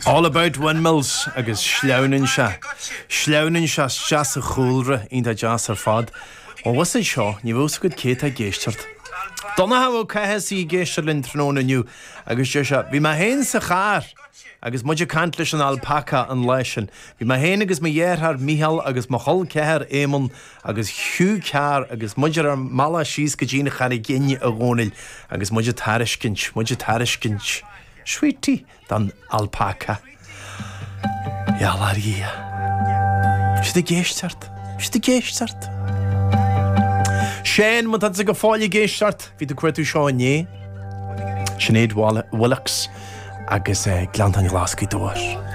All about windmills agus sleamhnann sé, sleamhnann sé isteach sa chúlra, iontach deas ar fad. Ó bhfios é seo, ní bheadh fhios agat cé atá ag éisteacht. Donncha Ó Cathasaigh ag éisteacht linn tráthnóna inniu agus deir sé, bhí mé féin sa charr agus muid ag caint leis an alpaca an lá sin. Bhí mé féin agus mo dheartháir Mícheál agus mo chol ceathar Éamonn agus Hugh Carr agus muid ar ár mbealach síos go dtí an Charraig Fhinn a Dhónaill agus muid ag tairiscint, muid ag tairiscint sweetie don alpaca. Gheall ar Dhia. Siad ag éisteacht. Siad ag éisteacht. Shane, má tá tú go fóill ag éisteacht, bhí tú ag cuartú seo inné. Sinéad Willox agus Gleanntáin Ghlas Ghaoth Dobhair.